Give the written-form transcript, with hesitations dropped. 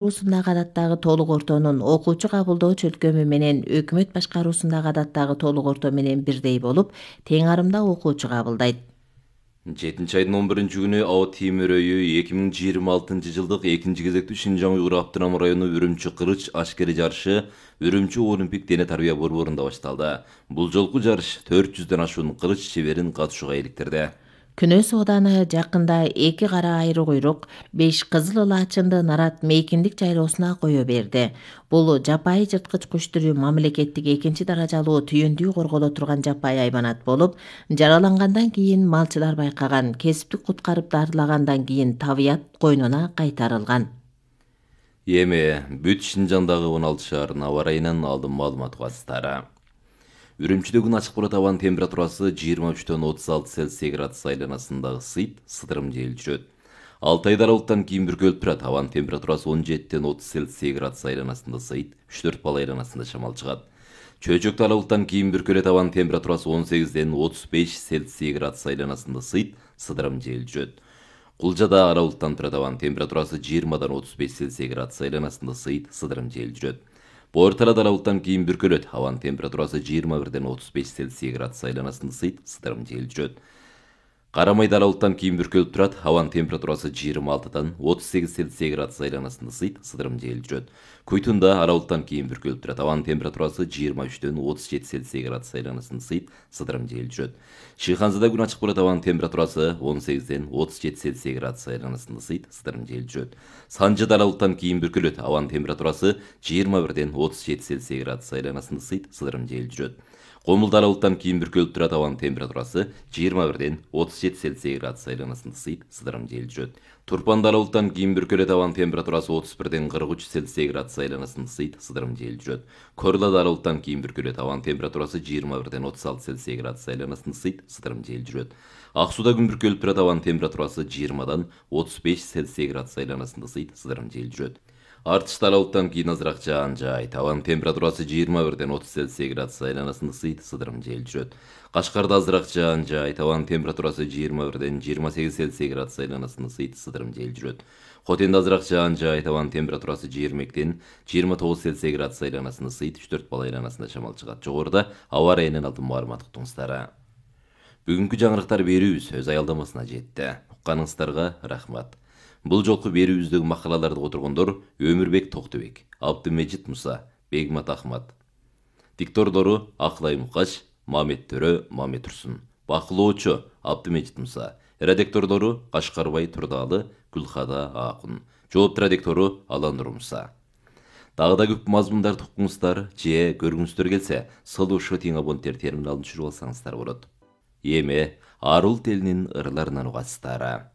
башкаруусундагы адаттагы толук ортонун окуучу кабылдоо чөлкөмү менен өкмөт башкаруусундагы адаттагы толук орто менен бирдей болуп, тең арымда окуучу кабылдайт. 7 айдын 11-күнү ао темир өйү 2026-жылдык экинчи кезектүү Шинжаң Уйгур автономдук району Үрүмчү кылыч аскери жарышы Үрүмчү Олимпик дене тарбия борборунда башталды. Бул жолку жарыш 400дөн ашуун кылыч чеберин катышууга иликтирди. Күнөс ооданы жакында 2 кара айры куйрук, 5 кызыл ылаачынды нарат мейкиндик жайлоосуна кое берди. Бул жапайы жырткыч куш түрү мамлекеттик экинчи даражалуу түйүндүү корголо турган жапайы айбанат болуп, жаралангандан кийин малчылар байкаган, кесиптик куткарып дарылагандан кийин табият койнуна кайтарылган. Эми бүт Шинжаңдагы 16 шаардын аба ырайынан алдын маалымат угасыздары. Үрүмчүдө күн ачык болот, абанын температурасы 23,36 Цельсий градус айланасындагы сыдырым жел жүрөт. Алтайда аралыктан кийин бүркөлүп турат, абанын температурасы 17,30 Цельсий градус айланасында сыйт, 3-4 балл айланасында шамал чыгат. Чөйчөктө аралыктан кийин бүркөлөт, абанын температурасы 18,35 Цельсий градус айланасында сыйт, сыдырым жел жүрөт. Кулжада аралыктан турат, абанын температурасы 20-35 Цельсий градус айланасында сыйт, сыдырым жел жүрөт. Боорталада аралыктан кийин бүркөлөт, абанын температурасы 21-35 Цельсий градус айланасында сыйт, сыдырым жел жүрөт. Карамайда аралыктан кийин бүркөлүп турат, абанын температурасы 26-38 Цельсий градус айланасында сыйт, сыдырым жел жүрөт. Куйтунда аралыктан кийин бүркөлүп турат, абанын температурасы 23-37 Цельсий градус айланасында сыйт, сыдырым жел жүрөт. Шыйханзада күн ачык болот, абанын температурасы 18-37 Цельсий градус айланасында сыйт, сыдырым жел жүрөт. Санжыда аралыктан кийин бүркөлөт, абанын температурасы 21-37 Цельсий градус айланасында сыйт, сыдырым жел жүрөт. Комулда аралыктан кийин бүркөлүп турат, абанын температурасы 21-37 Цельсий градус айланасында сыйт, сыдырым жел жүрөт. Турпанда аралыктан кийин бүркөлөт, абанын температурасы 31-43 Цельсий градус айланасында сыйт, сыдырым жел жүрөт. Корлада аралыктан кийин бүркөлөт, абанын температурасы 21-36 Цельсий градус айланасында сыйт, сыдырым жел жүрөт. Ак сууда күн бүркөлүп турат, абанын температурасы 20-35 Цельсий градус айланасында сыйт, сыдырым жел жүрөт. Артышта аралыктан кийин азыраак жаан жаайт, абанын температурасы 21-30 Цельсий градус айланасында сыйт, сыдырым жел жүрөт. Кашкарда азыраак жаан жаайт, абанын температурасы 21-28 Цельсий градус айланасында сыйт, сыдырым жел жүрөт. Хотенде азыраак жаан жаайт, абанын температурасы 22-29 Цельсий градус айланасында сыйт, 3-4 балл айланасында шамал чыгат. Жогоруда аба ырайынан алдын маалымат уктуңуздар. Бүгүнкү жаңырыктар берүүбүз өз аялдамасына жетти. Укканыңыздарга рахмат. Бул жолку берүүбүздөгү макалаларды которгондор Өмүрбек Токтубек, Абдымежит Муса, Бегмат Ахмат. Диктордору Аклай Мукач, Мамет Төрө, Мамет Турсун. Бакылоочу Абдымежит Муса. Редактордору Кашкарбай Турдалы, Гүлхада Акун. Жоопту редактору Аландыр Муса. Дагы да көп мазмундарды уккуңуздар же көргүңүздөр келсе, Сolo Shooting абоненттер терминалын түшүрүп алсаңыздар болот. Эми арул телинин ырларынан угасыздар.